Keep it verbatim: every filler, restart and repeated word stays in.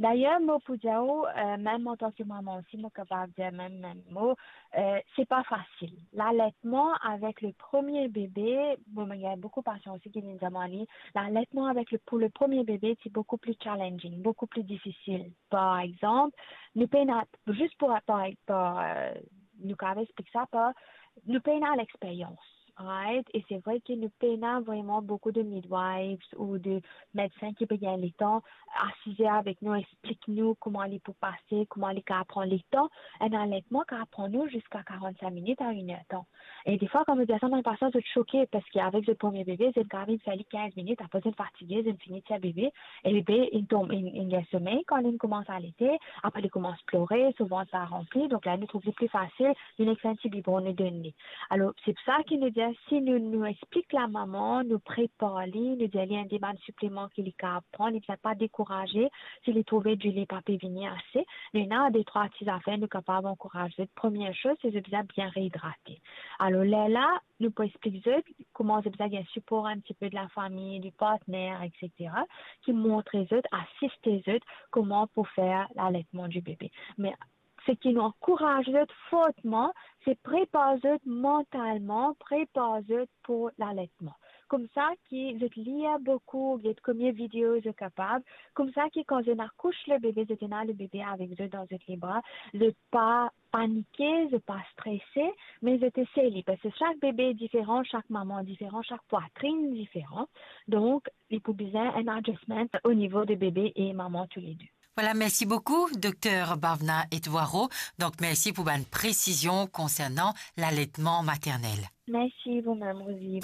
Dayer, mo pou dir ou, euh, mem antan ke mama osi, mo kapav dir mem, mem mo, euh, c'est pas facile. L'alertman avek le premie bebe, bon, mo gagn boukou pasian osi ki vinn dir mwa li, l'alertman avek le, pour le premie bebe, c'est beaucoup plus challenging, beaucoup plus difficile. Par examp, nou pena, zis pou, par, par, euh, nou kapav explik sa par, nou pena lexperyans, right? E se vre ki nou pena vreman boukou de midwives ou de medsin ki pe gagn letan asize avek nou, explik nou kouma li pou pase, kouma li kapav pran letan. Enn alertman kapav pran nou ziska karant-sink minit a inertan. E defwa, kan mo dir sa, bann pasian zot soke, parski avek zot premie bebe, zot kapav vinn fer li kinz minit, apre zot fatige, zot fini tir bebe, e bebe, li tom, li, li gagn somey kan li koumans alete, apre li koumans plore, so vant la ranpli, donk la nou trouv li pli fasil, nou nek fer enn ti bibon, nou donn li. Alor, se pou sa ki nou dir, si nou, nou explik lamama, nou prepar li, nou dir li enn de bann sipleman ki li kapav pran, li bizin pa dekouraze, si li trouve dilo pa pe vini ase, nou ena de trwa ti zafer nou kapav ankouraz zot. Premie soz, se zot bizin bien reidrate. Alor, lerla, nou pou explik zot kouma zot bizin gagn sipor enn tipe de lafami, di partner, et cetera, ki montre zot, asiste zot kouma pou fer l'alertman di bebe. Me seki nou ankouraz zot fortman, se prepar zot mantalman, prepar zot pou l'alertman. Koumsa ki zot lir boukou, get komie video zot kapav, koumsa ki kan zot akous le bebe, zot ena le bebe avek zot dan zot lebra, zot pa panike, zot pa strese, me zot esey li, parski sak bebe diferan, sak mama diferan, sak pwatrin diferan. Donk, li pou bizin enn adjustment o nivo de bebe e mama toulede. Voilà, merci beaucoup, Docteur Bhavna Etwaro. Donc, merci pour votre précision concernant l'allaitement maternel. Merci vous-même, Rosie.